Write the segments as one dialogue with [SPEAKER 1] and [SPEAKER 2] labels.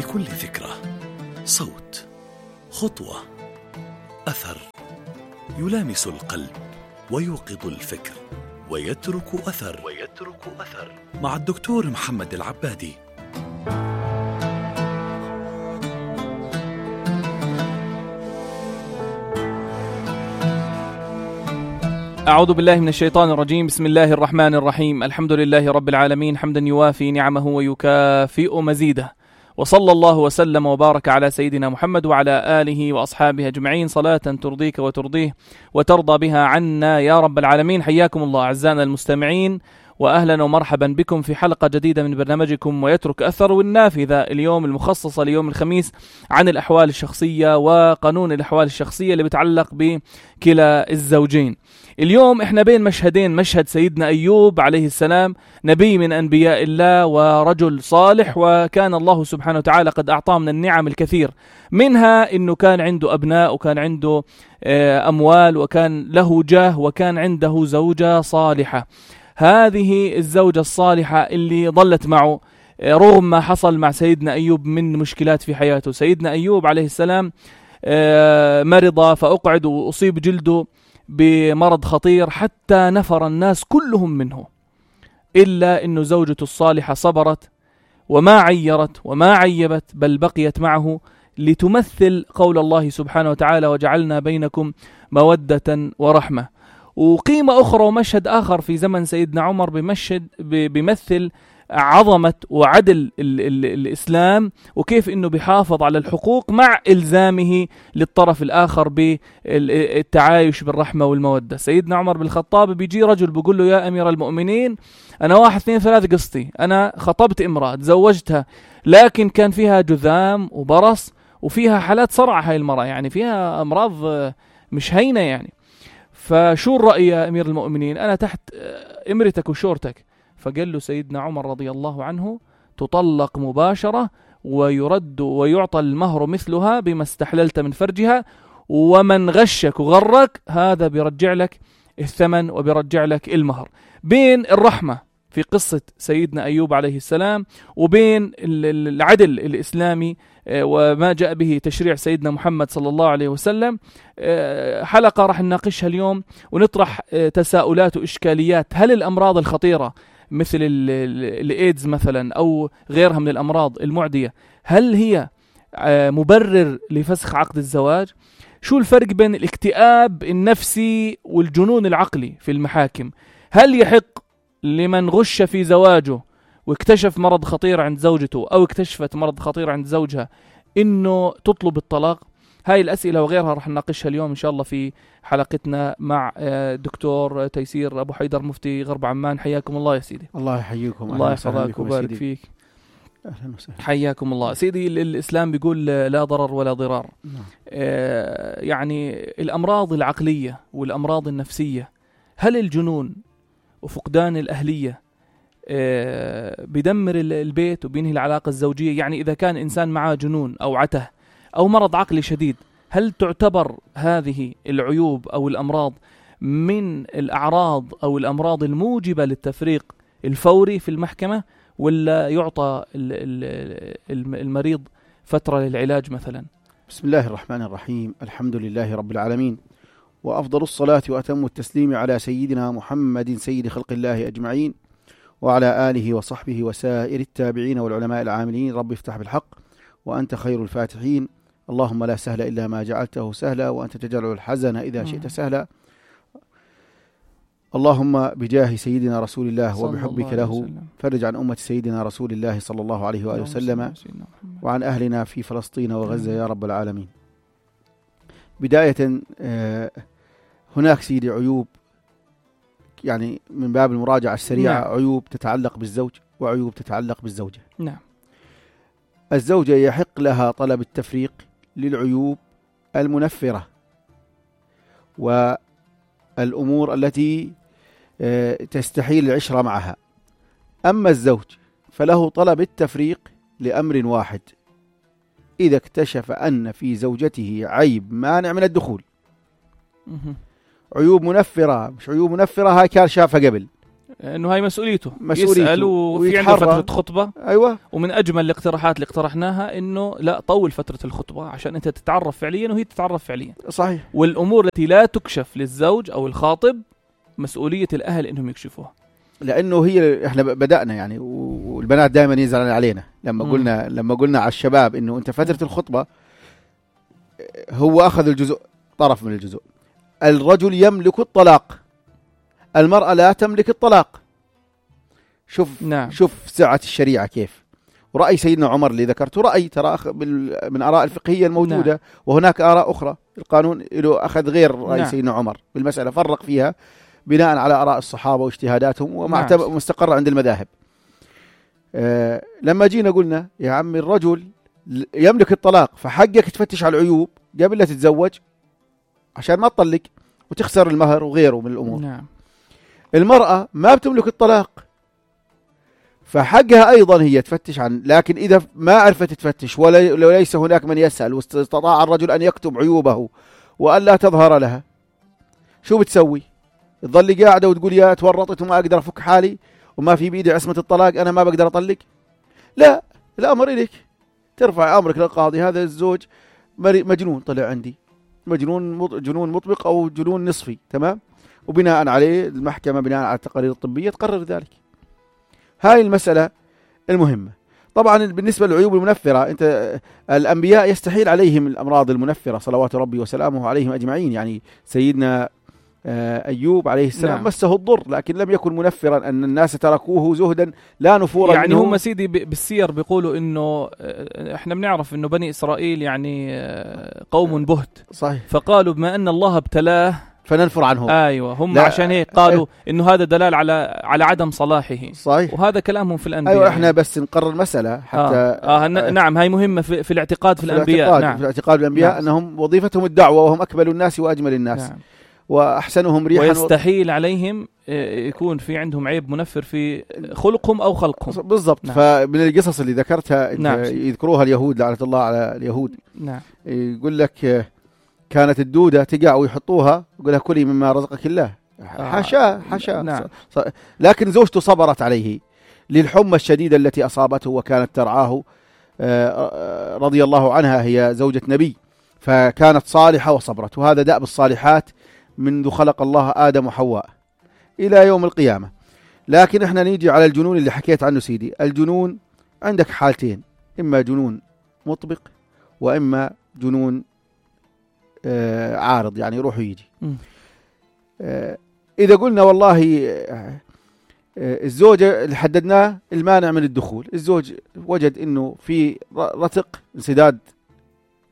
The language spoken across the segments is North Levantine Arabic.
[SPEAKER 1] لكل ذكرى صوت، خطوة، أثر يلامس القلب ويوقظ الفكر ويترك أثر مع الدكتور محمد العبادي.
[SPEAKER 2] أعوذ بالله من الشيطان الرجيم. بسم الله الرحمن الرحيم. الحمد لله رب العالمين، حمدا يوافي نعمه ويكافئ مزيده، وصلى الله وسلم وبارك على سيدنا محمد وعلى آله وأصحابه أجمعين، صلاة ترضيك وترضيه وترضى بها عنا يا رب العالمين. حياكم الله أعزائنا المستمعين، وأهلا ومرحبا بكم في حلقة جديدة من برنامجكم ويترك أثر، والنافذة اليوم المخصصة ليوم الخميس عن الأحوال الشخصية وقانون الأحوال الشخصية اللي بتعلق بكلا الزوجين. اليوم احنا بين مشهدين، مشهد سيدنا أيوب عليه السلام، نبي من أنبياء الله ورجل صالح، وكان الله سبحانه وتعالى قد أعطاه من النعم الكثير، منها أنه كان عنده أبناء وكان عنده أموال وكان له جاه وكان عنده زوجة صالحة. هذه الزوجة الصالحة اللي ظلت معه رغم ما حصل مع سيدنا أيوب من مشكلات في حياته. سيدنا أيوب عليه السلام مرض فأقعد وأصيب جلده بمرض خطير حتى نفر الناس كلهم منه، إلا أن زوجته الصالحة صبرت وما عيرت وما عيبت، بل بقيت معه لتمثل قول الله سبحانه وتعالى: وجعلنا بينكم مودة ورحمة. وقيمة أخرى ومشهد آخر في زمن سيدنا عمر بيمثل عظمة وعدل الإسلام، وكيف أنه بيحافظ على الحقوق مع إلزامه للطرف الآخر بالتعايش بالرحمة والمودة. سيدنا عمر بن الخطاب بيجي رجل بيقول له: يا أمير المؤمنين، أنا 1 2 3 قصتي، أنا خطبت امرأة تزوجتها، لكن كان فيها جذام وبرص وفيها حالات صرع، هاي المرأة يعني فيها أمراض مش هينة يعني، فشو الرأي يا أمير المؤمنين؟ أنا تحت إمرتك وشورتك. فقال له سيدنا عمر رضي الله عنه: تطلق مباشرة ويرد ويعطى المهر مثلها بما استحللت من فرجها، ومن غشك وغرك هذا بيرجع لك الثمن وبيرجع لك المهر. بين الرحمة في قصة سيدنا أيوب عليه السلام وبين العدل الإسلامي وما جاء به تشريع سيدنا محمد صلى الله عليه وسلم، حلقة راح نناقشها اليوم ونطرح تساؤلات وإشكاليات. هل الأمراض الخطيرة مثل الإيدز مثلا أو غيرها من الأمراض المعدية هل هي مبرر لفسخ عقد الزواج؟ شو الفرق بين الاكتئاب النفسي والجنون العقلي في المحاكم؟ هل يحق لمن غش في زواجه واكتشف مرض خطير عند زوجته أو اكتشفت مرض خطير عند زوجها إنه تطلب الطلاق؟ هاي الأسئلة وغيرها رح نناقشها اليوم إن شاء الله في حلقتنا مع دكتور تيسير أبو حيدر مفتي غرب عمان. حياكم الله يا سيدي.
[SPEAKER 3] الله يحييكم.
[SPEAKER 2] الله يحفظك وبارك فيك.
[SPEAKER 3] أهلا وسهلا.
[SPEAKER 2] حياكم الله سيدي. الإسلام بيقول لا ضرر ولا ضرار. يعني الأمراض العقلية والأمراض النفسية، هل الجنون وفقدان الأهلية بدمر البيت وبينهي العلاقة الزوجية؟ يعني إذا كان إنسان معاه جنون أو عته أو مرض عقلي شديد، هل تعتبر هذه العيوب أو الأمراض من الأعراض أو الأمراض الموجبة للتفريق الفوري في المحكمة، ولا يعطى المريض فترة للعلاج مثلا؟
[SPEAKER 3] بسم الله الرحمن الرحيم. الحمد لله رب العالمين، وأفضل الصلاة وأتم التسليم على سيدنا محمد سيد خلق الله أجمعين، وعلى آله وصحبه وسائر التابعين والعلماء العاملين. رب افتح بالحق وأنت خير الفاتحين. اللهم لا سهل إلا ما جعلته سهلا، وأنت تجعل الحزن إذا شئت سهلا. اللهم بجاه سيدنا رسول الله وبحبك له فرج عن أمة سيدنا رسول الله صلى الله عليه وآله وسلم، وعن أهلنا في فلسطين وغزة يا رب العالمين. بداية هناك سيدي عيوب، يعني من باب المراجعة السريعة، نعم. عيوب تتعلق بالزوج وعيوب تتعلق بالزوجة.
[SPEAKER 2] نعم.
[SPEAKER 3] الزوجة يحق لها طلب التفريق للعيوب المنفرة والأمور التي تستحيل العشرة معها. أما الزوج فله طلب التفريق لأمر واحد: إذا اكتشف أن في زوجته عيب مانع من الدخول. عيوب منفرة، مش عيوب منفرة هاي كان شافها قبل،
[SPEAKER 2] انه هاي مسؤوليته يسأل وفي عنده فترة خطبة.
[SPEAKER 3] ايوه.
[SPEAKER 2] ومن اجمل الاقتراحات اللي اقترحناها انه لا طول فترة الخطبة عشان انت تتعرف فعليا وهي تتعرف فعليا.
[SPEAKER 3] صحيح.
[SPEAKER 2] والامور التي لا تكشف للزوج او الخاطب مسؤولية الاهل انهم يكشفوها،
[SPEAKER 3] لانه هي احنا بدأنا يعني، والبنات دائما يزعلن علينا لما قلنا على الشباب انه انت فترة الخطبة هو اخذ الجزء، طرف من الجزء. الرجل يملك الطلاق، المرأة لا تملك الطلاق. شوف سعة الشريعة كيف. ورأي سيدنا عمر اللي ذكرته رأي ترى من آراء الفقهية الموجودة. نعم. وهناك آراء أخرى القانون له أخذ غير رأي. نعم. سيدنا عمر بالمسألة فرق فيها بناء على آراء الصحابة واجتهاداتهم ومستقرة عند المذاهب. لما جينا قلنا يا عمي الرجل يملك الطلاق، فحقك تفتش على العيوب قبل لا تتزوج عشان ما تطلق وتخسر المهر وغيره من الأمور.
[SPEAKER 2] نعم.
[SPEAKER 3] المرأة ما بتملك الطلاق، فحقها أيضا هي تفتش عن، لكن إذا ما عرفت تفتش وليس هناك من يسأل واستطاع الرجل أن يكتب عيوبه وأن لا تظهر لها، شو بتسوي؟ تظل قاعدة وتقول يا تورطت وما أقدر أفك حالي وما في بيدي عصمة الطلاق أنا ما بقدر أطلق؟ لا، الأمر إليك، ترفع أمرك للقاضي هذا الزوج مجنون طلع عندي، جنون مطبق أو جنون نصفي، تمام؟ وبناء عليه المحكمة بناء على التقارير الطبية تقرر ذلك. هاي المسألة المهمة. طبعا بالنسبة للعيوب المنفرة، الأنبياء يستحيل عليهم الأمراض المنفرة صلوات ربي وسلامه عليهم أجمعين. يعني سيدنا أيوب عليه السلام. نعم. مسه الضر لكن لم يكن منفرا، أن الناس تركوه زهدا لا نفورا
[SPEAKER 2] يعني هم سيدي بالسير بيقولوا إنه إحنا بنعرف إنه بني إسرائيل يعني قوم بهت.
[SPEAKER 3] صحيح.
[SPEAKER 2] فقالوا بما أن الله ابتلاه
[SPEAKER 3] فننفر عنه.
[SPEAKER 2] ايوه هم عشان هيك قالوا انه هذا دلال على عدم صلاحه.
[SPEAKER 3] صحيح.
[SPEAKER 2] وهذا كلامهم في الانبياء.
[SPEAKER 3] ايوه احنا بس نقرر مسألة حتى
[SPEAKER 2] نعم هاي مهمة في الاعتقاد في الانبياء. نعم.
[SPEAKER 3] في الاعتقاد الانبياء. نعم. انهم وظيفتهم الدعوة وهم اكمل الناس واجمل الناس. نعم. واحسنهم ريحا،
[SPEAKER 2] ويستحيل عليهم يكون في عندهم عيب منفر في خلقهم او خلقهم.
[SPEAKER 3] بالضبط. نعم. فمن القصص اللي ذكرتها
[SPEAKER 2] نعم.
[SPEAKER 3] يذكروها اليهود لعنة الله على اليهود.
[SPEAKER 2] نعم.
[SPEAKER 3] يقول لك كانت الدودة تقع ويحطوها يقول لها كلي مما رزقك الله. حاشا.
[SPEAKER 2] نعم.
[SPEAKER 3] لكن زوجته صبرت عليه للحمى الشديدة التي أصابته وكانت ترعاه رضي الله عنها، هي زوجة نبي، فكانت صالحة وصبرت. وهذا دأب الصالحات منذ خلق الله آدم وحواء إلى يوم القيامة. لكن احنا نيجي على الجنون اللي حكيت عنه سيدي. الجنون عندك حالتين، إما جنون مطبق وإما جنون عارض، يعني يروح ويجي. إذا قلنا والله الزوجة اللي حددناه المانع من الدخول، الزوج وجد إنه في رتق انسداد،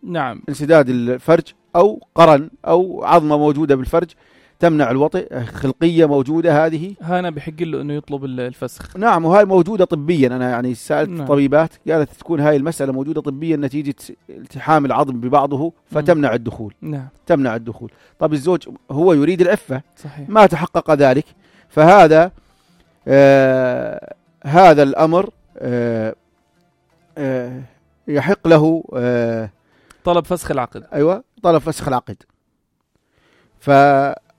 [SPEAKER 2] نعم،
[SPEAKER 3] انسداد الفرج أو قرن أو عظمة موجودة بالفرج تمنع الوطئ، خلقية موجودة، هذه
[SPEAKER 2] هنا بحق له إنه يطلب الفسخ.
[SPEAKER 3] نعم. وهاي موجودة طبيا. أنا يعني سألت
[SPEAKER 2] نعم.
[SPEAKER 3] طبيبات قالت تكون هاي المسألة موجودة طبيا نتيجة التحام العظم ببعضه فتمنع الدخول.
[SPEAKER 2] نعم. تمنع
[SPEAKER 3] الدخول. طب الزوج هو يريد العفة.
[SPEAKER 2] صحيح.
[SPEAKER 3] ما تحقق ذلك، فهذا هذا الأمر يحق له
[SPEAKER 2] طلب فسخ العقد.
[SPEAKER 3] أيوة، طلب فسخ العقد.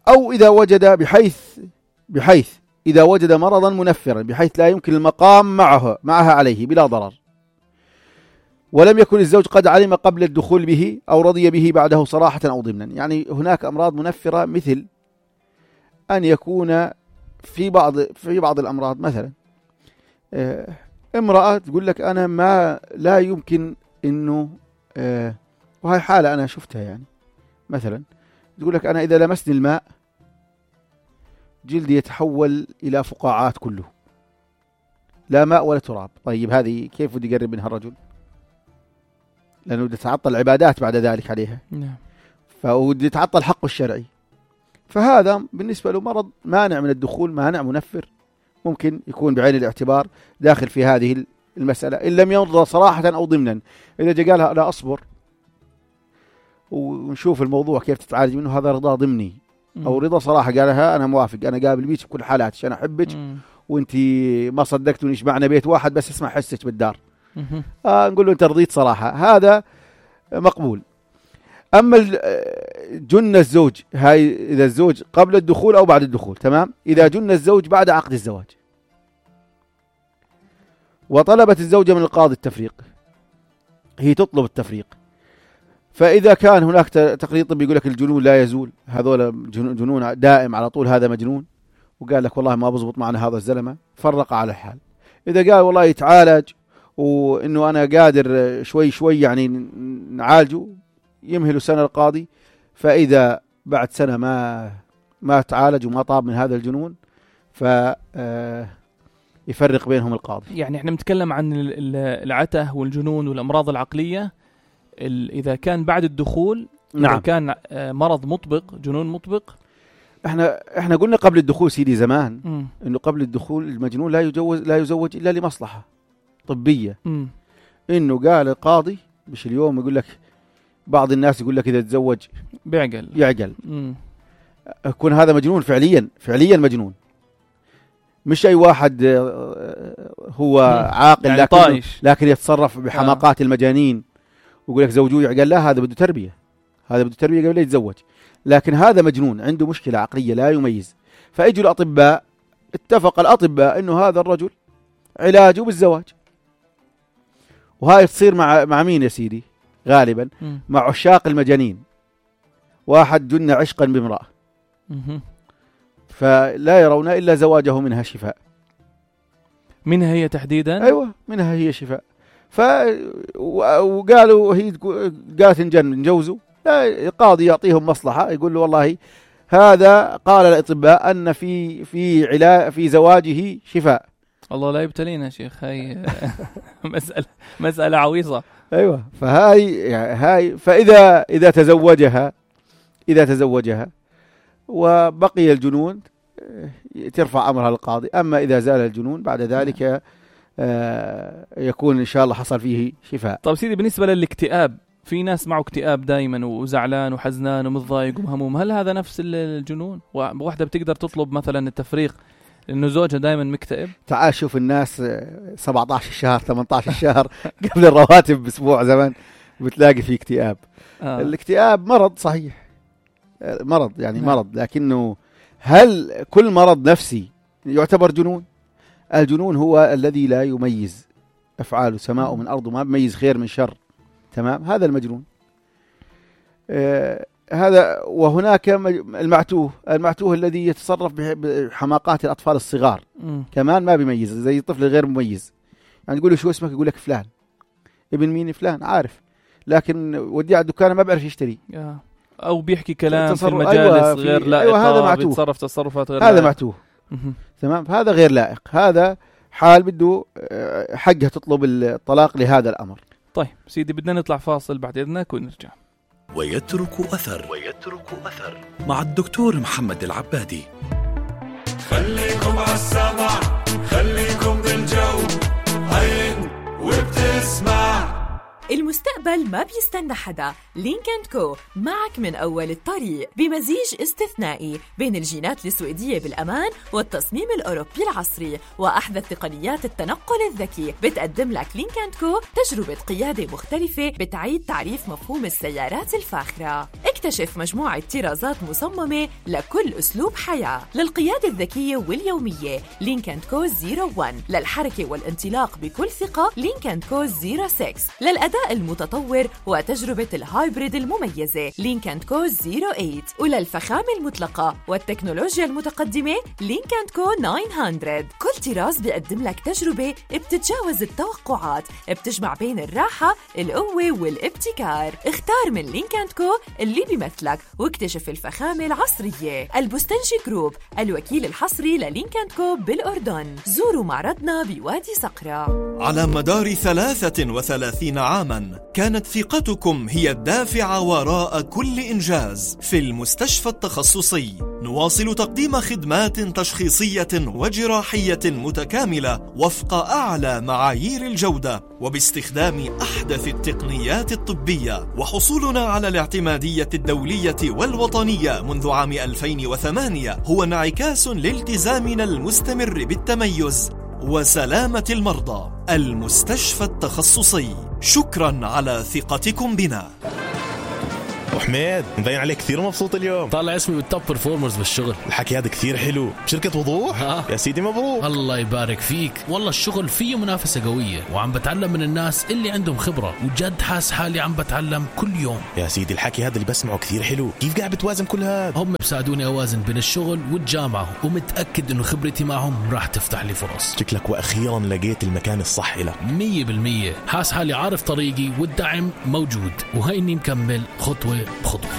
[SPEAKER 3] أو إذا وجد بحيث إذا وجد مرضا منفرا بحيث لا يمكن المقام معها عليه بلا ضرر، ولم يكن الزوج قد علم قبل الدخول به أو رضي به بعده صراحة أو ضمنا. يعني هناك أمراض منفرة، مثل أن يكون في بعض الأمراض، مثلا امرأة تقول لك أنا لا يمكن إنه وهي حالة أنا شفتها، يعني مثلا تقول لك أنا إذا لمسني الماء جلدي يتحول إلى فقاعات كله، لا ماء ولا تراب. طيب هذه كيف بدي يقرب منها الرجل؟ لأنه بدي يتعطل العبادات بعد ذلك عليها.
[SPEAKER 2] نعم.
[SPEAKER 3] فودي يتعطل حقه الشرعي. فهذا بالنسبة له مرض مانع من الدخول، مانع منفر، ممكن يكون بعين الاعتبار داخل في هذه المسألة إن لم يرضى صراحة أو ضمنا. إذا جاء قالها لا أصبر ونشوف الموضوع كيف تتعالج منه، هذا رضا ضمني. أو رضا صراحة قالها أنا موافق، أنا قابل بيك بكل حالاتك، أنا أحبك وانتي ما صدقتوني يجمعنا بيت واحد بس اسمع حسك بالدار. نقول له أنت رضيت صراحة، هذا مقبول. أما جن الزوج، هاي إذا الزوج قبل الدخول أو بعد الدخول، تمام. إذا جن الزوج بعد عقد الزواج وطلبت الزوجة من القاضي التفريق، هي تطلب التفريق، فإذا كان هناك تقرير طبي يقول لك الجنون لا يزول، هذول جنون دائم على طول، هذا مجنون، وقال لك والله ما بزبط معنا هذا الزلمة، فرق على الحال. إذا قال والله يتعالج وإنه أنا قادر شوي شوي يعني نعالجه، يمهل سنة القاضي، فإذا بعد سنة ما تعالج وما طاب من هذا الجنون يفرق بينهم القاضي.
[SPEAKER 2] يعني احنا بنتكلم عن العته والجنون والأمراض العقلية إذا كان بعد الدخول.
[SPEAKER 3] نعم.
[SPEAKER 2] إذا كان مرض مطبق، جنون مطبق.
[SPEAKER 3] احنا قلنا قبل الدخول سيدي زمان انه قبل الدخول المجنون لا يزوج الا لمصلحة طبية. انه قال القاضي، مش اليوم يقول لك بعض الناس يقول لك اذا تزوج يعقل. يكون هذا مجنون فعليا مجنون، مش اي واحد هو عاقل يعني لكن يتصرف بحماقات المجانين ويقول لك زوجوه يعقل. لا، هذا بده تربية قبل لا يتزوج، لكن هذا مجنون عنده مشكلة عقلية لا يميز. فاجوا الأطباء، اتفق الأطباء انه هذا الرجل علاجه بالزواج. وهاي تصير مع مين يا سيدي؟ غالبا مع عشاق المجانين. واحد جن عشقا بامرأة فلا يرون إلا زواجه منها شفاء.
[SPEAKER 2] منها هي تحديدا؟
[SPEAKER 3] أيوة، منها هي شفاء. وقالوا هي قالت نجوزوا، القاضي يعطيهم مصلحة، يقول له والله هذا قال الأطباء أن في زواجه شفاء.
[SPEAKER 2] الله لا يبتلينا شيخ، هاي مسألة عويصة.
[SPEAKER 3] أيوة، فهاي فإذا تزوجها وبقي الجنون ترفع أمرها للقاضي. أما إذا زال الجنون بعد ذلك يكون إن شاء الله حصل فيه شفاء.
[SPEAKER 2] طب سيدي، بالنسبة للاكتئاب، في ناس معه اكتئاب دائما وزعلان وحزنان ومتضايق ومهموم، هل هذا نفس الجنون؟ واحدة بتقدر تطلب مثلا التفريق لأنه زوجها دائما مكتئب؟
[SPEAKER 3] تعال شوف الناس 17 شهر 18 شهر قبل الرواتب بأسبوع زمان بتلاقي فيه اكتئاب. الاكتئاب مرض صحيح، مرض يعني مرض، لكنه هل كل مرض نفسي يعتبر جنون؟ الجنون هو الذي لا يميز أفعاله سماء من أرض، ما يميز خير من شر، تمام؟ هذا المجنون. هذا. وهناك المعتوه الذي يتصرف بحماقات الأطفال الصغار، كمان ما بيميز، زي الطفل غير مميز. يعني تقول له شو اسمك، يقول لك فلان. ابن مين؟ فلان، عارف، لكن ودي على الدكان ما بيعرف يشتري،
[SPEAKER 2] أو بيحكي كلام في المجالس غير لائق.
[SPEAKER 3] هذا معتوه،
[SPEAKER 2] بيتصرف تصرفات غير
[SPEAKER 3] هذا لائق. معتوه. تمام، هذا غير لائق، هذا حال بده حقها تطلب الطلاق لهذا الأمر.
[SPEAKER 2] طيب سيدي، بدنا نطلع فاصل، بعد إذنك ونرجع.
[SPEAKER 1] ويترك أثر مع الدكتور محمد العبادي.
[SPEAKER 4] خليكم عالسمع، خليكم بالجو، عين وبتسمع.
[SPEAKER 5] المستقبل ما بيستنى حدا. لينك&كو معك من أول الطريق، بمزيج استثنائي بين الجينات السويدية بالأمان والتصميم الأوروبي العصري وأحدث تقنيات التنقل الذكي. بتقدم لك لينك&كو تجربة قيادة مختلفة بتعيد تعريف مفهوم السيارات الفاخرة. اكتشف مجموعة طرازات مصممة لكل أسلوب حياة. للقيادة الذكية واليومية لينك&كو 01، للحركة والانطلاق بكل ثقة لينك&كو 06، للأداء المتطور وتجربة الهايبريد المميزة لينك&كو 08، وللفخامة المطلقة والتكنولوجيا المتقدمة لينك&كو 900. كل طراز بيقدم لك تجربة بتتجاوز التوقعات، بتجمع بين الراحة، القوة والابتكار. اختار من لينك&كو اللي بيمثلك واكتشف الفخامة العصرية. البستنجي جروب، الوكيل الحصري للينك&كو بالأردن. زوروا معرضنا بوادي صقرة.
[SPEAKER 4] على مدار 33 عاماً كانت ثقتكم هي الدافع وراء كل إنجاز. في المستشفى التخصصي نواصل تقديم خدمات تشخيصية وجراحية متكاملة وفق أعلى معايير الجودة وباستخدام أحدث التقنيات الطبية. وحصولنا على الاعتمادية الدولية والوطنية منذ عام 2008 هو انعكاس لالتزامنا المستمر بالتميز وسلامة المرضى. المستشفى التخصصي، شكرا على ثقتكم بنا.
[SPEAKER 6] وحميد مبين عليك كثير مبسوط اليوم.
[SPEAKER 7] طالع اسمي بالتوب برفورمرز بالشغل.
[SPEAKER 6] الحكي هذا كثير حلو. بشركة وضوح؟ يا سيدي مبروك.
[SPEAKER 7] الله يبارك فيك. والله الشغل فيه منافسة قوية وعم بتعلم من الناس اللي عندهم خبرة وجد حاس حالي عم بتعلم كل يوم.
[SPEAKER 6] يا سيدي الحكي هذا اللي بسمعه كثير حلو. كيف قاعد بتوازن كل هذا؟
[SPEAKER 7] هم بساعدوني أوازن بين الشغل والجامعة ومتأكد إنه خبرتي معهم راح تفتح لي فرص.
[SPEAKER 6] شكلك وأخيرا لقيت المكان الصح لك.
[SPEAKER 7] 100% حاس حالي عارف طريقي والدعم موجود وهيني مكمل خطوة بخطوة.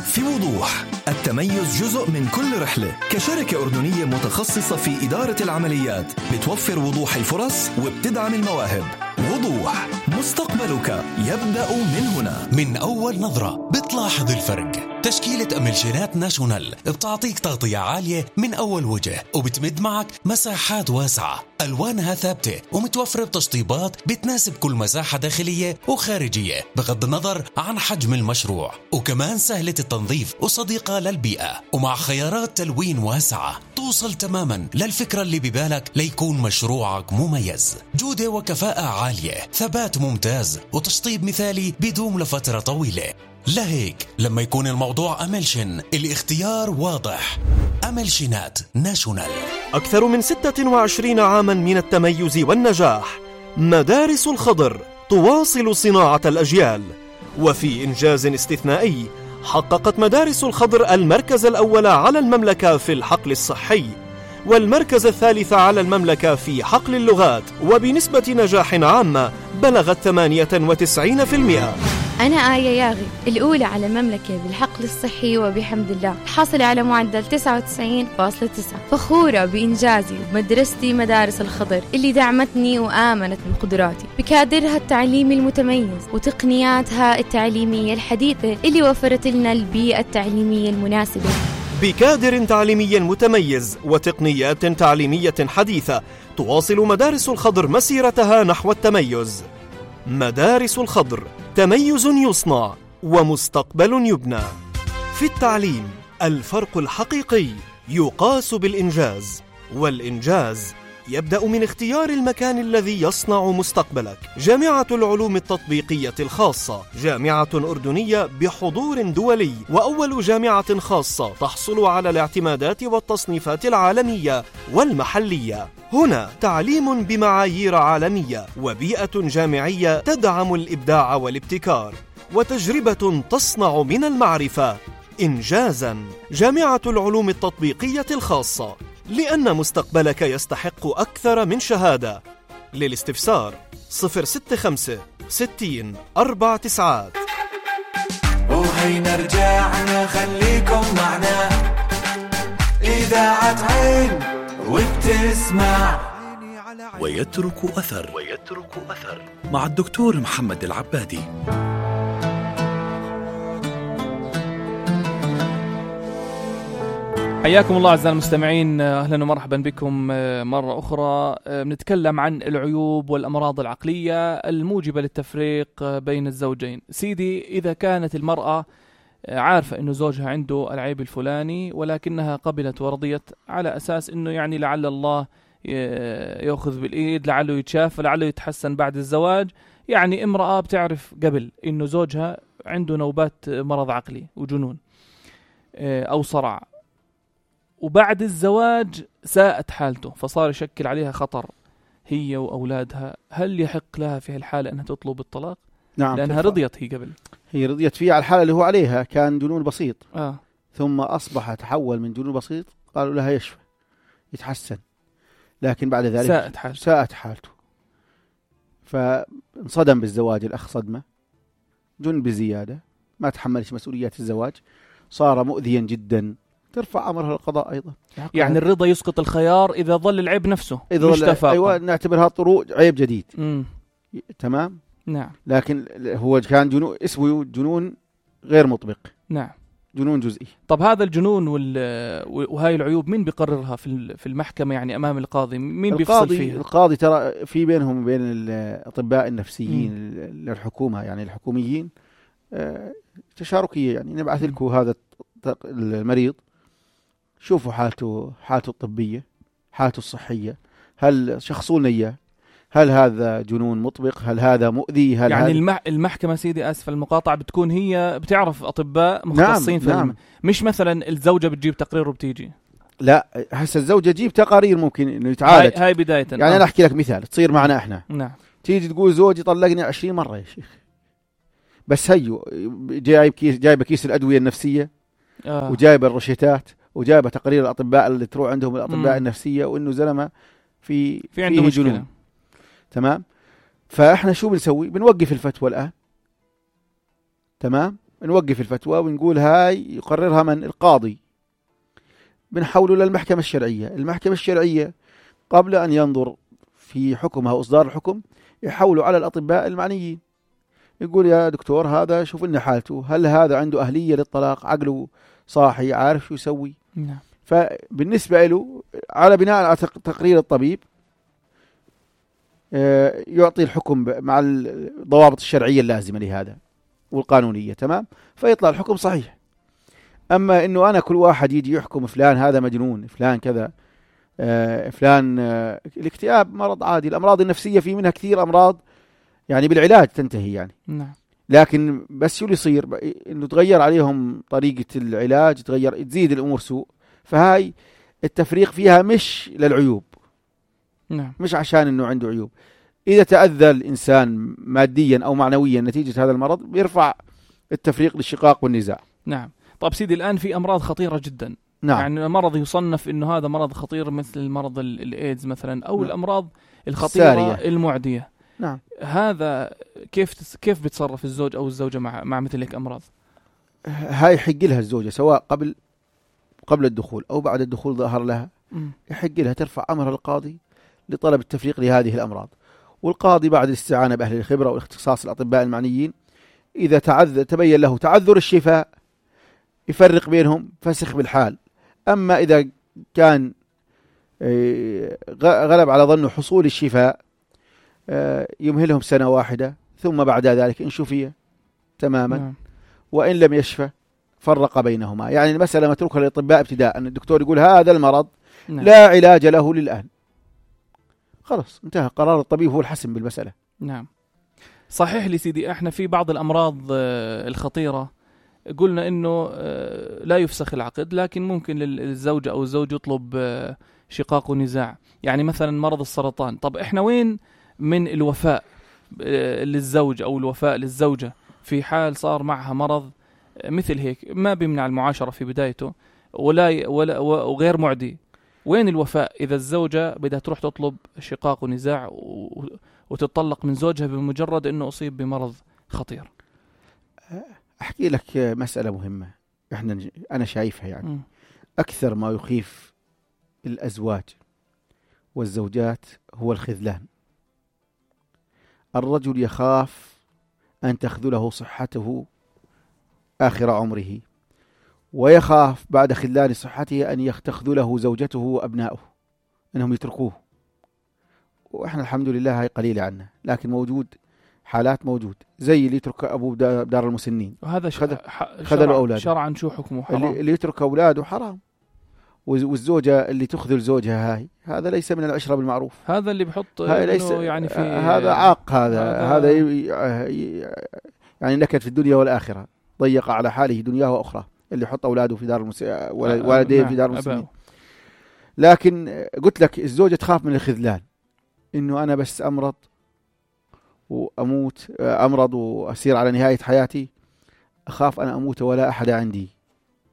[SPEAKER 4] في وضوح التميز جزء من كل رحلة. كشركة أردنية متخصصة في إدارة العمليات بتوفر وضوح الفرص وبتدعم المواهب. وضوح مستقبلك يبدأ من هنا.
[SPEAKER 8] من أول نظرة بتلاحظ الفرق. تشكيلة أملشينات ناشونال بتعطيك تغطية عالية من أول وجه وبتمد معك مساحات واسعة ألوانها ثابتة ومتوفرة بتشطيبات بتناسب كل مساحة داخلية وخارجية بغض النظر عن حجم المشروع، وكمان سهلة التنظيف وصديقة للبيئة، ومع خيارات تلوين واسعة توصل تماما للفكرة اللي ببالك ليكون مشروعك مميز. جودة وكفاءة عالية، ثبات ممتاز، وتشطيب مثالي بيدوم لفترة طويلة. لهيك لما يكون الموضوع أملشن الاختيار واضح. أملشنات ناشونال.
[SPEAKER 9] أكثر من 26 عاما من التميز والنجاح. مدارس الخضر تواصل صناعة الأجيال. وفي إنجاز استثنائي حققت مدارس الخضر المركز الأول على المملكة في الحقل الصحي والمركز الثالث على المملكة في حقل اللغات، وبنسبة نجاح عامة بلغت 98%.
[SPEAKER 10] أنا آية ياغي الأولى على المملكة بالحقل الصحي وبحمد الله حاصلة على معدل 99.9. فخورة بإنجازي ومدرستي مدارس الخضر اللي دعمتني وآمنت بقدراتي بكادرها التعليمي المتميز وتقنياتها التعليمية الحديثة اللي وفرت لنا البيئة التعليمية المناسبة.
[SPEAKER 9] بكادر تعليمي متميز وتقنيات تعليمية حديثة تواصل مدارس الخضر مسيرتها نحو التميز. مدارس الخضر، تميز يصنع ومستقبل يبنى. في التعليم الفرق الحقيقي يقاس بالإنجاز، والإنجاز يبدأ من اختيار المكان الذي يصنع مستقبلك. جامعة العلوم التطبيقية الخاصة، جامعة أردنية بحضور دولي وأول جامعة خاصة تحصل على الاعتمادات والتصنيفات العالمية والمحلية. هنا تعليم بمعايير عالمية وبيئة جامعية تدعم الإبداع والابتكار وتجربة تصنع من المعرفة إنجازاً. جامعة العلوم التطبيقية الخاصة، لأن مستقبلك يستحق أكثر من شهادة. للاستفسار 065 60 49.
[SPEAKER 11] وهينا رجعنا خليكم معنا إذاعة عين وبتسمع
[SPEAKER 1] ويترك أثر مع الدكتور محمد العبادي.
[SPEAKER 2] حياكم الله أعزائي المستمعين، أهلا ومرحبا بكم مرة أخرى. بنتكلم عن العيوب والأمراض العقلية الموجبة للتفريق بين الزوجين. سيدي، إذا كانت المرأة عارفة أنه زوجها عنده العيب الفلاني ولكنها قبلت ورضيت على أساس أنه يعني لعل الله يأخذ بالإيد، لعله يتشافى، لعله يتحسن بعد الزواج. يعني امرأة بتعرف قبل أنه زوجها عنده نوبات مرض عقلي وجنون أو صرع، وبعد الزواج ساءت حالته فصار يشكل عليها خطر هي وأولادها. هل يحق لها في هالحالة أنها تطلب الطلاق؟
[SPEAKER 3] نعم،
[SPEAKER 2] لأنها رضيت. هي
[SPEAKER 3] رضيت فيه على الحالة اللي هو عليها، كان جنون بسيط ثم أصبح تحول من جنون بسيط، قالوا لها يشفى يتحسن، لكن بعد ذلك ساءت حالته فانصدم بالزواج. الأخ صدمة، جن بزيادة، ما تحملش مسؤوليات الزواج، صار مؤذيا جدا، ترفع أمرها للقضاء أيضا.
[SPEAKER 2] يعني الرضا يسقط الخيار إذا ظل العيب نفسه مش تفاقم.
[SPEAKER 3] أيوة، نعتبرها طروق عيب جديد. تمام.
[SPEAKER 2] نعم.
[SPEAKER 3] لكن هو كان جنون، اسمه جنون غير مطبق.
[SPEAKER 2] نعم،
[SPEAKER 3] جنون جزئي.
[SPEAKER 2] طب هذا الجنون وهاي العيوب مين بيقررها في المحكمة؟ يعني أمام القاضي مين بيفصل فيها؟
[SPEAKER 3] القاضي ترى في بينهم وبين الأطباء النفسيين للحكومة، يعني الحكوميين تشاركية. يعني نبعث لكم هذا المريض، شوفوا حالته الطبية، حالته الصحية، هل شخصوا لنا إياه، هل هذا جنون مطبق؟ هل هذا مؤذي؟ هل
[SPEAKER 2] يعني المحكمة سيدي آسف المقاطعة بتكون هي بتعرف أطباء مختصين في
[SPEAKER 3] نعم.
[SPEAKER 2] مش مثلا الزوجة بتجيب تقرير وبتيجي.
[SPEAKER 3] لا، هسه الزوجة تجيب تقارير ممكن إنه يتعالج.
[SPEAKER 2] هاي بداية.
[SPEAKER 3] يعني أنا أحكي لك مثال تصير معنا إحنا.
[SPEAKER 2] نعم.
[SPEAKER 3] تيجي تقول زوجي طلقني 20 مرة يا شيخ، بس هيو جايبة كيس الأدوية النفسية وجايبة الروشتات وجايبة تقرير الأطباء اللي تروح عندهم الأطباء النفسية وإنه زلمة في
[SPEAKER 2] عنده مشكلة.
[SPEAKER 3] جنون. تمام. فإحنا شو بنسوي؟ بنوقف الفتوى الآن. تمام. نوقف الفتوى ونقول هاي يقررها من القاضي، بنحوله للمحكمة الشرعية. المحكمة الشرعية قبل أن ينظر في حكمها وإصدار الحكم يحولوا على الأطباء المعنيين، يقول يا دكتور هذا شوف لنا حالته، هل هذا عنده أهلية للطلاق، عقله صاحي، عارف شو يسوي.
[SPEAKER 2] نعم.
[SPEAKER 3] فبالنسبة له على بناء على تقرير الطبيب يعطي الحكم مع الضوابط الشرعية اللازمة لهذا والقانونية. تمام. فيطلع الحكم صحيح. أما إنه أنا كل واحد يجي يحكم فلان هذا مجنون، فلان كذا، فلان الاكتئاب مرض عادي، الأمراض النفسية في منها كثير أمراض يعني بالعلاج تنتهي يعني.
[SPEAKER 2] نعم.
[SPEAKER 3] لكن بس شو اللي يصير إنه تغير عليهم طريقة العلاج، تزيد الأمور سوء. فهاي التفريق فيها مش للعيوب.
[SPEAKER 2] نعم.
[SPEAKER 3] مش عشان إنه عنده عيوب. إذا تأذى الإنسان ماديا أو معنويا نتيجة هذا المرض بيرفع التفريق للشقاق والنزاع.
[SPEAKER 2] نعم. طب سيدي الآن في أمراض خطيرة جدا.
[SPEAKER 3] نعم.
[SPEAKER 2] يعني مرض يصنف إنه هذا مرض خطير مثل المرض الإيدز مثلا أو
[SPEAKER 3] نعم.
[SPEAKER 2] الأمراض الخطيرة
[SPEAKER 3] سارية.
[SPEAKER 2] المعدية.
[SPEAKER 3] نعم.
[SPEAKER 2] هذا كيف بيتصرف الزوج أو الزوجة مع مثل هيك أمراض؟
[SPEAKER 3] هاي يحق لها الزوجة سواء قبل الدخول أو بعد الدخول ظهر لها، يحق لها ترفع أمرها للقاضي لطلب التفريق لهذه الأمراض. والقاضي بعد الاستعانة بأهل الخبرة والاختصاص الأطباء المعنيين إذا تبين له تعذر الشفاء يفرق بينهم فسخ بالحال. أما إذا كان غلب على ظنه حصول الشفاء يمهلهم سنة واحدة ثم بعد ذلك إن شفي تماما.
[SPEAKER 2] نعم.
[SPEAKER 3] وإن لم يشفى فرق بينهما. يعني المسألة متروكة للأطباء ابتداء، أن الدكتور يقول هذا المرض
[SPEAKER 2] نعم.
[SPEAKER 3] لا علاج له للآن، خلاص انتهى، قرار الطبيب هو الحسم بالمسألة.
[SPEAKER 2] نعم. صحيح لي سيدي، احنا في بعض الأمراض الخطيرة قلنا إنه لا يفسخ العقد، لكن ممكن للزوجة أو الزوج يطلب شقاق ونزاع. يعني مثلا مرض السرطان، طب احنا وين من الوفاء للزوج أو الوفاء للزوجة في حال صار معها مرض مثل هيك ما بيمنع المعاشرة في بدايته ولا وغير معدي؟ وين الوفاء إذا الزوجة بدها تروح تطلب شقاق ونزاع وتطلق من زوجها بمجرد أنه أصيب بمرض خطير؟
[SPEAKER 3] أحكي لك مسألة مهمة أنا شايفها يعني أكثر ما يخيف الأزواج والزوجات هو الخذلان. الرجل يخاف أن تخذله صحته آخر عمره، ويخاف بعد خذلان صحته أن تخذله زوجته وأبناؤه أنهم يتركوه. وإحنا الحمد لله هاي قليلة عنا، لكن موجود حالات موجود زي اللي يترك أبوه بدار المسنين،
[SPEAKER 2] وهذا
[SPEAKER 3] خذلوا أولاده.
[SPEAKER 2] شرعا شو حكمه؟ حرام.
[SPEAKER 3] اللي يترك أولاده حرام. والزوجة اللي تخذل زوجها هذا ليس من العشرة بالمعروف.
[SPEAKER 2] هذا اللي بحط
[SPEAKER 3] ليس
[SPEAKER 2] يعني في
[SPEAKER 3] هذا عاق، هذا يعني نكد في الدنيا والآخرة، ضيق على حاله دنياه وأخرى اللي يحط أولاده في دار والديه في دار المسنين. لكن قلت لك الزوجة تخاف من الخذلان، إنه أنا بس أمرض وأسير على نهاية حياتي، أخاف أنا أموت ولا أحد عندي،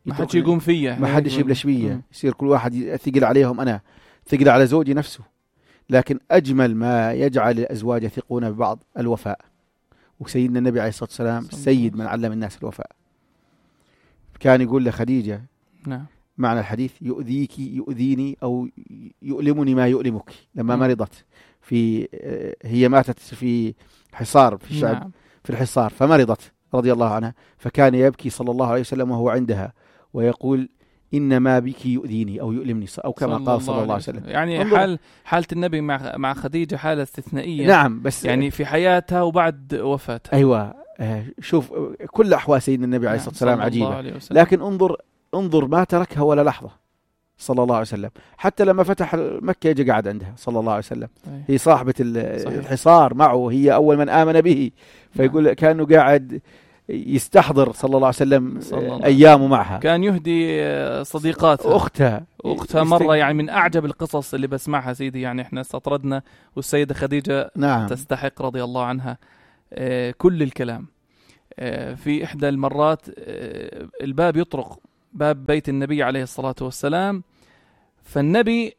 [SPEAKER 2] ما حدش يقوم فيا،
[SPEAKER 3] ما حدش يبلش فيا، يصير كل واحد ثقل عليهم، أنا ثقل على زوجي نفسه. لكن أجمل ما يجعل الأزواج يثقون ببعض الوفاء، وسيدنا النبي عليه الصلاة والسلام سيد من علم الناس الوفاء. كان يقول لخديجة
[SPEAKER 2] نعم
[SPEAKER 3] معنى الحديث: يؤذيك يؤذيني أو يؤلمني ما يؤلمك. لما مرضت هي ماتت في حصار في الشعب،
[SPEAKER 2] نعم.
[SPEAKER 3] في الحصار، فمرضت رضي الله عنها، فكان يبكي صلى الله عليه وسلم وهو عندها ويقول: إنما بك يؤذيني أو يؤلمني، أو كما قال صلى الله عليه وسلم.
[SPEAKER 2] يعني حالة النبي مع خديجة حالة استثنائية.
[SPEAKER 3] نعم، بس
[SPEAKER 2] يعني في حياتها وبعد وفاتها.
[SPEAKER 3] أيوة. شوف كل أحوال سيدنا النبي عليه الصلاة والسلام عجيبة، لكن انظر ما تركها ولا لحظة صلى الله عليه وسلم. حتى لما فتح مكة يجي قاعد عندها صلى الله عليه وسلم. هي صاحبة الحصار معه، هي أول من آمن به، فيقول كأنه قاعد يستحضر صلى الله عليه وسلم أيامه معها.
[SPEAKER 2] كان يهدي صديقاتها أختها مرة، يعني من أعجب القصص اللي بسمعها سيدي. يعني إحنا استطردنا والسيدة خديجة
[SPEAKER 3] نعم
[SPEAKER 2] تستحق رضي الله عنها كل الكلام. في إحدى المرات الباب يطرق، باب بيت النبي عليه الصلاة والسلام، فالنبي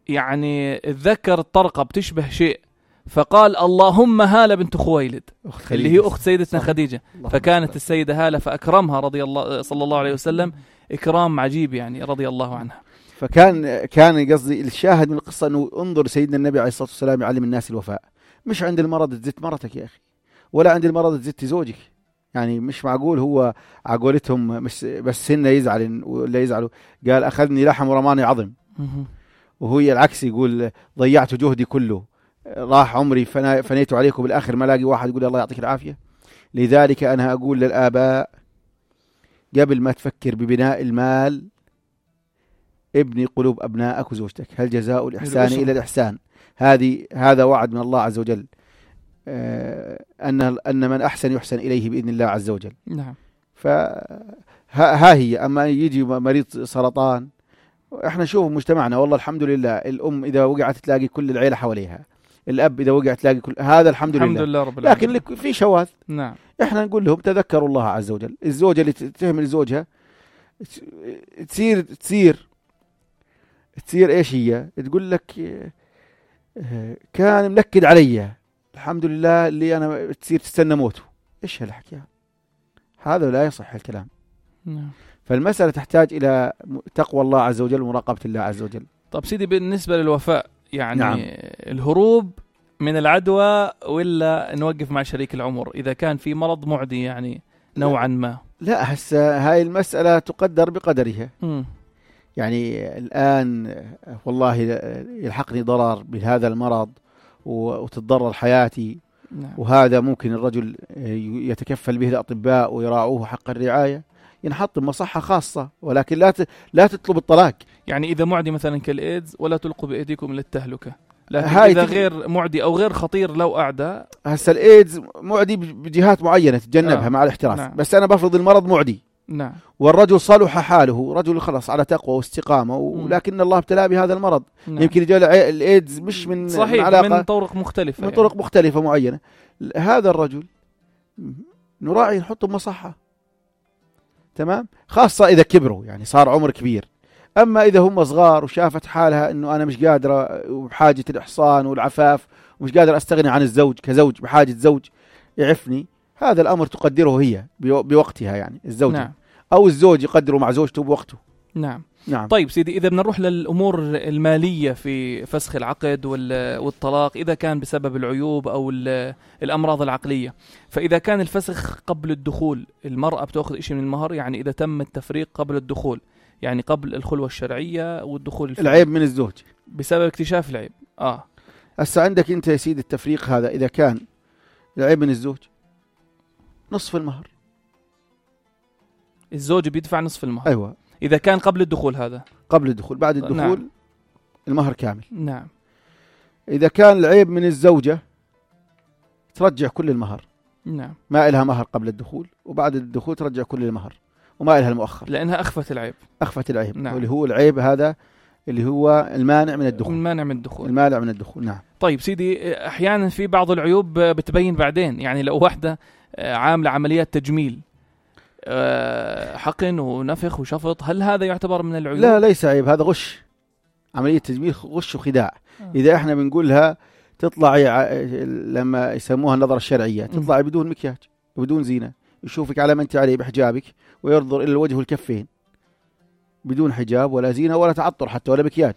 [SPEAKER 2] يعني اتذكر الطرقة بتشبه شيء، فقال اللهم هالة بنت خويلد اللي هي أخت سيدتنا خديجة. فكانت السيدة هالة فأكرمها رضي الله صلى الله عليه وسلم إكرام عجيب يعني رضي الله عنها.
[SPEAKER 3] فكان قصدي الشاهد من القصة أنه انظر سيدنا النبي عليه الصلاة والسلام يعلم الناس الوفاء. مش عند المرض تزت مرتك يا أخي، ولا عند المرض تزت زوجك. يعني مش معقول هو عقولتهم بس هن يزعل ولا يزعلوا. قال أخذني لحم ورماني عظم، وهو العكس يقول ضيعت جهدي كله، راح عمري فنيت عليكم، بالآخر ما لاقي واحد يقول الله يعطيك العافية. لذلك أنا أقول للآباء قبل ما تفكر ببناء المال ابني قلوب أبنائك وزوجتك. هل جزاء الإحسان إلى الإحسان؟ هذا وعد من الله عز وجل، أن من أحسن يحسن إليه بإذن الله عز وجل.
[SPEAKER 2] نعم.
[SPEAKER 3] فها هي. أما يجي مريض سرطان، احنا نشوف مجتمعنا والله الحمد لله، الأم إذا وقعت تلاقي كل العيلة حواليها، الأب إذا وقعت تلاقي كل هذا الحمد لله
[SPEAKER 2] رب العالمين.
[SPEAKER 3] لكن في شواذ.
[SPEAKER 2] نعم.
[SPEAKER 3] احنا نقول لهم تذكروا الله عز وجل. الزوجة اللي تهمل زوجها تصير ايش هي؟ تقول لك كان منكد علي، الحمد لله اللي أنا تصير تستنى موته. إيش هالحكي هذا؟ لا يصح الكلام. فالمسألة تحتاج إلى تقوى الله عز وجل ومراقبة الله عز وجل.
[SPEAKER 2] طب سيدي بالنسبة للوفاء يعني نعم. الهروب من العدوى ولا نوقف مع شريك العمر إذا كان في مرض معدي يعني نوعا ما؟
[SPEAKER 3] لا هسه هاي المسألة تقدر بقدرها. يعني الآن والله يلحقني ضرر بهذا المرض وتتضرر حياتي.
[SPEAKER 2] نعم.
[SPEAKER 3] وهذا ممكن الرجل يتكفل به الأطباء ويراعوه حق الرعاية، ينحط بمصحة خاصة، ولكن لا تطلب الطلاق.
[SPEAKER 2] يعني إذا معدي مثلا كالإيدز ولا تلقوا بأيديكم للتهلكة، لكن إذا غير معدي أو غير خطير لو أعدى.
[SPEAKER 3] هسه الإيدز معدي بجهات معينة تتجنبها مع الاحتراس.
[SPEAKER 2] نعم.
[SPEAKER 3] بس أنا بفرض المرض معدي.
[SPEAKER 2] نعم.
[SPEAKER 3] والرجل صلح حاله، رجل خلص على تقوى واستقامة، ولكن الله ابتلاه بهذا المرض.
[SPEAKER 2] نعم.
[SPEAKER 3] يمكن يجي الإيدز مش من
[SPEAKER 2] صحيح
[SPEAKER 3] علاقة،
[SPEAKER 2] من طرق مختلفة،
[SPEAKER 3] من طرق مختلفة معينة. هذا الرجل نراعي نحطه بمصحة، تمام، خاصة إذا كبروا يعني صار عمر كبير. أما إذا هم صغار وشافت حالها إنه أنا مش قادرة وبحاجة الإحصان والعفاف ومش قادر أستغني عن الزوج كزوج بحاجة زوج يعفني، هذا الأمر تقدره هي بوقتها يعني الزوجة.
[SPEAKER 2] نعم.
[SPEAKER 3] أو الزوج يقدره مع زوجته بوقته.
[SPEAKER 2] نعم.
[SPEAKER 3] نعم.
[SPEAKER 2] طيب سيدي إذا بنروح للأمور المالية في فسخ العقد والطلاق، إذا كان بسبب العيوب أو الأمراض العقلية، فإذا كان الفسخ قبل الدخول المرأة بتأخذ إشي من المهر، يعني إذا تم التفريق قبل الدخول، يعني قبل الخلوة الشرعية والدخول
[SPEAKER 3] العيب من الزوج
[SPEAKER 2] بسبب اكتشاف العيب.
[SPEAKER 3] هسه عندك أنت يا سيدي التفريق هذا، إذا كان العيب من الزوج نصف المهر،
[SPEAKER 2] الزوج بيدفع نصف المهر.
[SPEAKER 3] أيوة.
[SPEAKER 2] إذا كان قبل الدخول، هذا
[SPEAKER 3] قبل الدخول. بعد الدخول نعم. المهر كامل.
[SPEAKER 2] نعم.
[SPEAKER 3] إذا كان العيب من الزوجة ترجع كل المهر.
[SPEAKER 2] نعم.
[SPEAKER 3] ما إلها مهر قبل الدخول، وبعد الدخول ترجع كل المهر، وما إلها المؤخر
[SPEAKER 2] لأنها أخفت العيب.
[SPEAKER 3] نعم. واللي هو العيب هذا اللي هو المانع من الدخول.
[SPEAKER 2] المانع من الدخول.
[SPEAKER 3] نعم.
[SPEAKER 2] طيب سيدي أحيانا في بعض العيوب بتبين بعدين، يعني لو واحدة عاملة عمليات تجميل حقن ونفخ وشفط، هل هذا يعتبر من العيوب؟
[SPEAKER 3] لا ليس عيب، هذا غش، عملية تجميل غش وخداع. إذا احنا بنقولها تطلعي لما يسموها النظرة الشرعية، تطلعي بدون مكياج بدون زينة، يشوفك على ما انت عليه بحجابك وينظر إلى الوجه والكفين بدون حجاب ولا زينة ولا تعطر حتى ولا مكياج،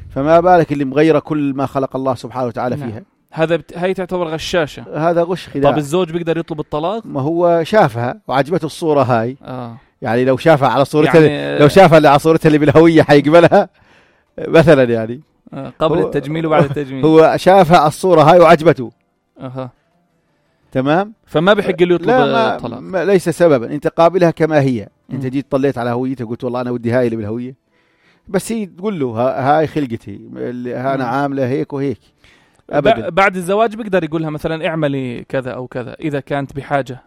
[SPEAKER 3] فما بالك اللي مغيرة كل ما خلق الله سبحانه وتعالى فيها.
[SPEAKER 2] نعم. هاي تعتبر غشاشة،
[SPEAKER 3] هذا غش خداع.
[SPEAKER 2] طب الزوج بيقدر يطلب الطلاق؟
[SPEAKER 3] ما هو شافها وعجبته الصورة هاي. يعني لو شافها على صورتها
[SPEAKER 2] يعني
[SPEAKER 3] لو شافها اللي على صورتها اللي بالهوية حيقبلها مثلا، يعني
[SPEAKER 2] قبل التجميل وبعد التجميل،
[SPEAKER 3] هو شافها على الصورة هاي وعجبته. تمام،
[SPEAKER 2] فما بحق له يطلب الطلاق.
[SPEAKER 3] ليس سببا، انت قابلها كما هي. انت جيت طليت على هويتها قلت والله انا ودي هاي اللي بالهوية، بس هي تقول له هاي خلقتي اللي أنا عاملة هيك وهيك.
[SPEAKER 2] بعد الزواج بيقدر يقولها مثلا اعملي كذا أو كذا إذا كانت بحاجة.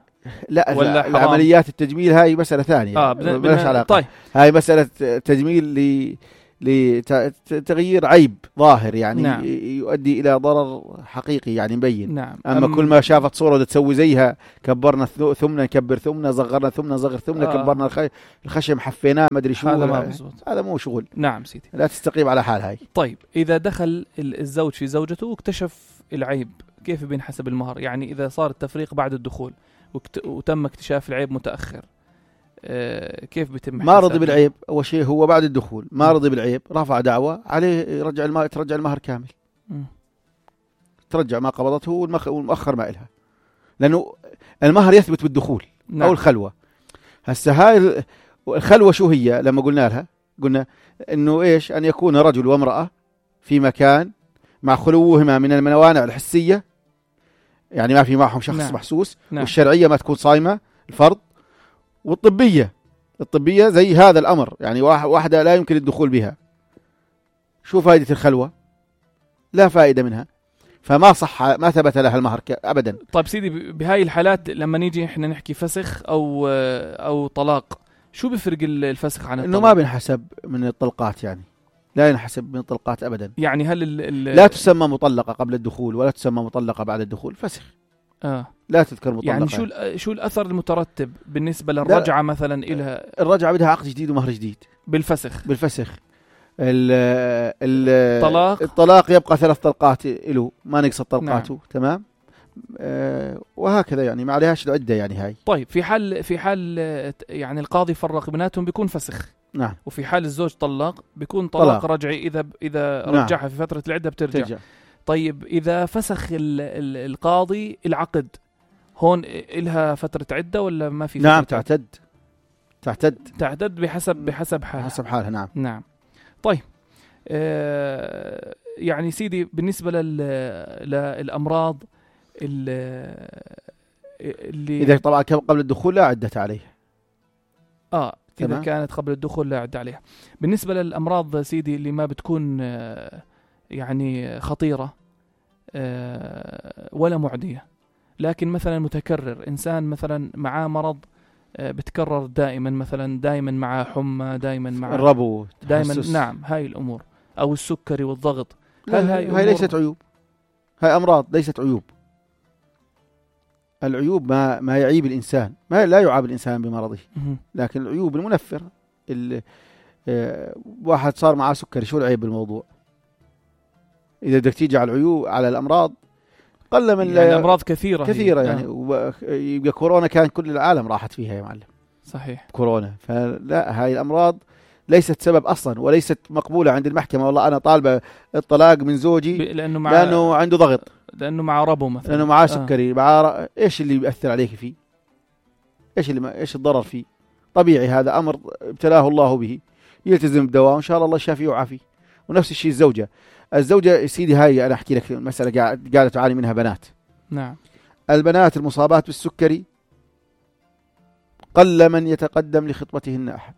[SPEAKER 3] لا العمليات التجميل هاي مسألة ثانية. بلاش علاقة.
[SPEAKER 2] طيب.
[SPEAKER 3] هاي مسألة تجميل لتغيير عيب ظاهر يعني. نعم. يؤدي إلى ضرر حقيقي يعني مبين.
[SPEAKER 2] نعم.
[SPEAKER 3] أما كل ما شافت صورة بدها تسوي زيها، كبرنا ثمنا نكبر ثمنا، صغرنا ثمنا نصغر ثمنا، كبرنا الخشم حفيناه ما أدري شو. هذا مو شغل.
[SPEAKER 2] نعم سيدي.
[SPEAKER 3] لا تستقيم على حال هاي.
[SPEAKER 2] طيب إذا دخل الزوج في زوجته واكتشف العيب كيف بينحسب المهر؟ يعني إذا صار التفريق بعد الدخول وتم اكتشاف العيب متأخر كيف بيتم؟
[SPEAKER 3] ما رضي بالعيب أول شيء هو بعد الدخول ما رضي بالعيب، رفع دعوة عليه ترجع المهر كامل. ترجع ما قبضته والمؤخر ما إلها، لأنه المهر يثبت بالدخول. نعم. أو الخلوة. هسه هاي الخلوة شو هي؟ لما قلنا إنه إيش؟ أن يكون رجل وامرأة في مكان مع خلوهما من الموانع الحسية، يعني ما في معهم شخص. نعم. محسوس. نعم. والشرعية ما تكون صايمة الفرض، والطبية زي هذا الأمر، يعني واحدة لا يمكن الدخول بها. شو فائدة الخلوة؟ لا فائدة منها، فما صح، ما ثبت لها المهر أبدا.
[SPEAKER 2] طيب سيدي، بهاي الحالات لما نيجي إحنا نحكي فسخ أو طلاق، شو بفرق الفسخ عن الطلاق؟
[SPEAKER 3] إنه ما بنحسب من الطلقات، يعني لا ينحسب من الطلقات أبدا.
[SPEAKER 2] يعني هل
[SPEAKER 3] لا تسمى مطلقة قبل الدخول ولا تسمى مطلقة بعد الدخول، فسخ. لا تذكر مطلقة.
[SPEAKER 2] يعني شو الأثر المترتب بالنسبة للرجعة مثلا إلها؟
[SPEAKER 3] الرجعة بدها عقد جديد ومهر جديد بالفسخ. الطلاق يبقى 3 طلقات له، ما نقص طلقاته. نعم. تمام. وهكذا يعني ما عليهاش العدة يعني هاي.
[SPEAKER 2] طيب في حال يعني القاضي فرق بيناتهم بيكون فسخ.
[SPEAKER 3] نعم.
[SPEAKER 2] وفي حال الزوج طلق بيكون طلاق رجعي إذا
[SPEAKER 3] نعم.
[SPEAKER 2] رجعها في فترة العدة بترجع. طيب إذا فسخ القاضي العقد، هون إلها فترة عدة ولا ما في؟
[SPEAKER 3] نعم،
[SPEAKER 2] تعتد بحسب
[SPEAKER 3] حالها. نعم.
[SPEAKER 2] طيب يعني سيدي بالنسبة للأمراض اللي
[SPEAKER 3] إذا طبعا قبل الدخول لا عدة عليها.
[SPEAKER 2] إذا كانت قبل الدخول لا عدة عليها. بالنسبة للأمراض سيدي اللي ما بتكون يعني خطيرة ولا معدية، لكن مثلا متكرر، إنسان مثلا معاه مرض بتكرر دائما، مثلا دائما معاه حمى، دائما معاه
[SPEAKER 3] الربو
[SPEAKER 2] دائما. نعم. هاي الأمور، أو السكري والضغط.
[SPEAKER 3] هاي ليست عيوب، هاي أمراض ليست عيوب. العيوب ما يعيب الإنسان، ما لا يعاب الإنسان بمرضه، لكن العيوب المنفر. واحد صار معاه سكري، شو العيب بالموضوع؟ إذا بدك تيجي على العيوب على الأمراض قل من
[SPEAKER 2] يعني الأمراض كثيرة
[SPEAKER 3] يعني. يبقى كورونا كان كل العالم راحت فيها يا معلم.
[SPEAKER 2] صحيح.
[SPEAKER 3] كورونا. فلا، هاي الأمراض ليست سبب أصلا وليست مقبولة عند المحكمة. والله أنا طالبة الطلاق من زوجي لأنه عنده ضغط،
[SPEAKER 2] لأنه مع ربو مثلا،
[SPEAKER 3] لأنه معاه سكري، إيش اللي بيأثر عليك فيه؟ إيش الضرر فيه؟ طبيعي، هذا أمر ابتلاه الله به، يلتزم بدواء وإن شاء الله يشافيه ويعافيه. ونفس الشيء الزوجة سيدي، هاي أنا أحكي لك مسألة قاعدة تعاني منها بنات.
[SPEAKER 2] نعم.
[SPEAKER 3] البنات المصابات بالسكري قل من يتقدم لخطبتهن أحد،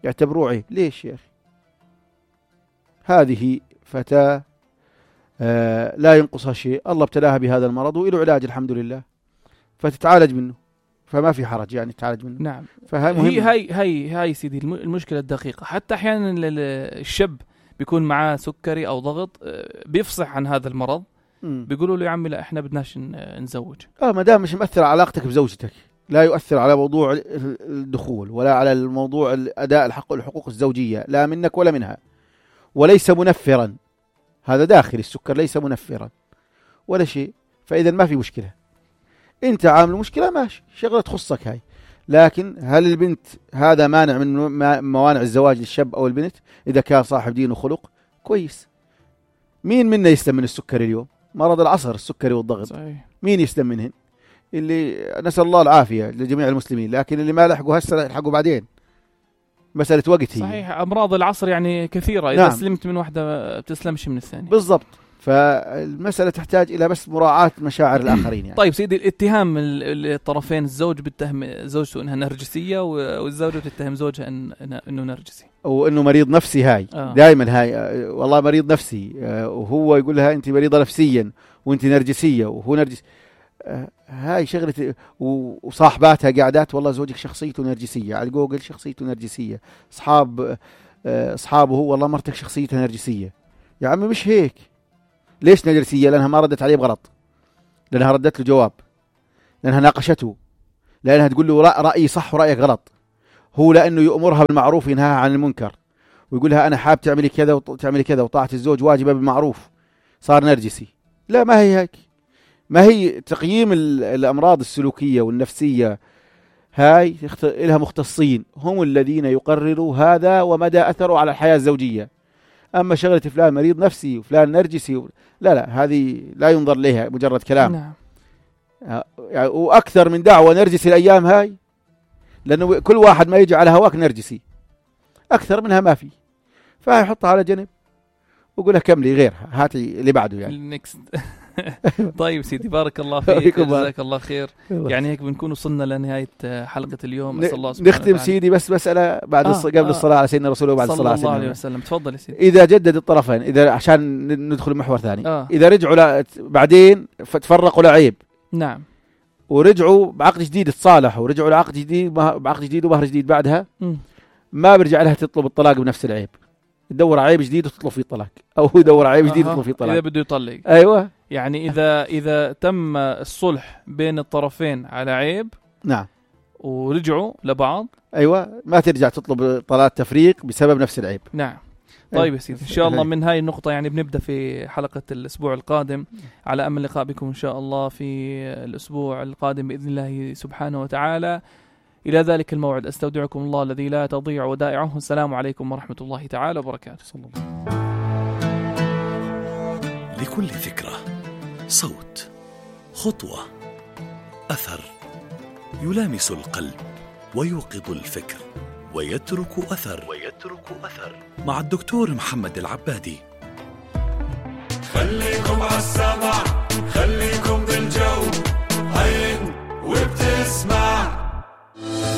[SPEAKER 3] يعتبروه عيب. ليش يا أخي؟ هذه فتاة لا ينقصها شيء، الله ابتلاها بهذا المرض وإله علاج الحمد لله، فتتعالج منه، فما في حرج يعني تتعالج منه.
[SPEAKER 2] نعم.
[SPEAKER 3] هي
[SPEAKER 2] سيدي المشكلة الدقيقة. حتى أحيانا الشاب بيكون معاه سكري أو ضغط، بيفصح عن هذا المرض، بيقولوا له يا عمي لا إحنا بدناش نزوج.
[SPEAKER 3] ما دام مش مؤثر على علاقتك بزوجتك، لا يؤثر على موضوع الدخول ولا على الموضوع أداء الحقوق الزوجية، لا منك ولا منها، وليس منفرا. هذا داخل السكر، ليس منفرا ولا شيء. فإذا ما في مشكلة، أنت عامل مشكلة ماشي، شغلة تخصك هاي. لكن هل البنت هذا مانع من موانع الزواج للشاب أو البنت إذا كان صاحب دين وخلق كويس؟ مين منا يسلم من السكري اليوم؟ مرض العصر السكري والضغط.
[SPEAKER 2] صحيح.
[SPEAKER 3] مين يسلم منهن؟ اللي نسأل الله العافية لجميع المسلمين، لكن اللي ما لحقوا هسه يلحقوا بعدين، مسألة وقت هي.
[SPEAKER 2] صحيح. أمراض العصر يعني كثيرة، إذا سلمت من واحدة بتسلمش من الثانية.
[SPEAKER 3] بالضبط. فالمسألة تحتاج إلى بس مراعاة مشاعر الآخرين يعني.
[SPEAKER 2] طيب سيدي، الاتهام الطرفين، الزوج بيتهم زوجته إنها نرجسية والزوجة تتهم زوجها إنه نرجسي
[SPEAKER 3] وإنه مريض نفسي. هاي دائما هاي والله مريض نفسي، وهو يقول لها أنت مريضة نفسيا وأنت نرجسية وهو نرجسي. هاي شغلة. وصاحباتها قاعدات والله زوجك شخصيته نرجسية، على جوجل شخصيته نرجسية، أصحابه هو والله مرتك شخصيتها نرجسية. يا عمي مش هيك. ليش نرجسية؟ لأنها ما ردت عليه بغلط، لأنها ردت له جواب، لأنها ناقشته، لأنها تقول له رأيي صح ورأيك غلط. هو لأنه يأمرها بالمعروف وينهاها عن المنكر، ويقول لها أنا حاب تعملي كذا وتعملي كذا، وطاعة الزوج واجبة بالمعروف، صار نرجسي. لا، ما هي هيك. ما هي تقييم الأمراض السلوكية والنفسية هاي لها مختصين، هم الذين يقرروا هذا ومدى أثره على الحياة الزوجية. أما شغلة فلان مريض نفسي وفلان نرجسي لا، هذه لا ينظر لها، مجرد كلام.
[SPEAKER 2] نعم.
[SPEAKER 3] يعني وأكثر من دعوة نرجسي الأيام هاي، لأنه كل واحد ما يجي على هواك نرجسي، أكثر منها ما في. فهي حطها على جنب وقولها كملي غيرها، هاتي اللي بعده يعني.
[SPEAKER 2] طيب سيدي، بارك الله فيك، جزاك الله خير. يعني هيك بنكون وصلنا لنهاية حلقة اليوم. أسأل الله سبحانه
[SPEAKER 3] نختم وتعالى. سيدي بس مسألة بعد قبل الصلاة على سيدنا رسوله وبعد الصلاة
[SPEAKER 2] صلى الله عليه وسلم. تفضل يا سيدي.
[SPEAKER 3] إذا جدد الطرفين، إذا عشان ندخل محور ثاني، إذا رجعوا بعدين فتفرقوا لعيب،
[SPEAKER 2] نعم،
[SPEAKER 3] ورجعوا بعقد جديد، تصالحوا ورجعوا لعقد جديد، بعقد جديد ومهر جديد بعدها، ما برجع لها تطلب الطلاق بنفس العيب، تدور عيب جديد وتطلب فيه طلاق، أو يدور عيب جديد وتطلب فيه طلاق
[SPEAKER 2] إذا بده يطلق.
[SPEAKER 3] أيوة.
[SPEAKER 2] يعني إذا تم الصلح بين الطرفين على عيب،
[SPEAKER 3] نعم،
[SPEAKER 2] ورجعوا لبعض،
[SPEAKER 3] أيوة، ما ترجع تطلب طلاق تفريق بسبب نفس العيب.
[SPEAKER 2] نعم. طيب يا سيدي، إن شاء الله من هاي النقطة يعني بنبدأ في حلقة الأسبوع القادم، على أمل اللقاء بكم إن شاء الله في الأسبوع القادم بإذن الله سبحانه وتعالى. إلى ذلك الموعد أستودعكم الله الذي لا تضيع ودائعه. السلام عليكم ورحمة الله تعالى وبركاته. صلى الله.
[SPEAKER 1] لكل ذكرى صوت، خطوة، أثر يلامس القلب ويوقظ الفكر ويترك أثر مع الدكتور محمد العبادي.
[SPEAKER 11] خليكم عالسمع، خليكم بالجو، عين وبتسمع.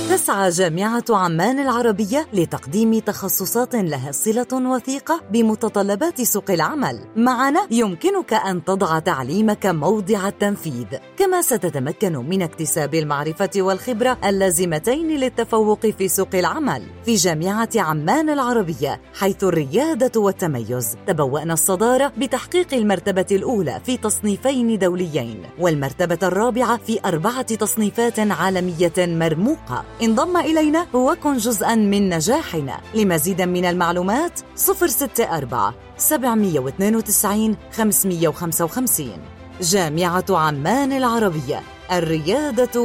[SPEAKER 5] تسعى جامعة عمان العربية لتقديم تخصصات لها صلة وثيقة بمتطلبات سوق العمل. معنا يمكنك أن تضع تعليمك موضع التنفيذ، كما ستتمكن من اكتساب المعرفة والخبرة اللازمتين للتفوق في سوق العمل. في جامعة عمان العربية، حيث الريادة والتميز، تبوأنا الصدارة بتحقيق المرتبة الأولى في تصنيفين دوليين، والمرتبة الرابعة في 4 تصنيفات عالمية مرموقة. انضم إلينا وكن جزءاً من نجاحنا. لمزيد من المعلومات 064 792 555. جامعة عمان العربية، الريادة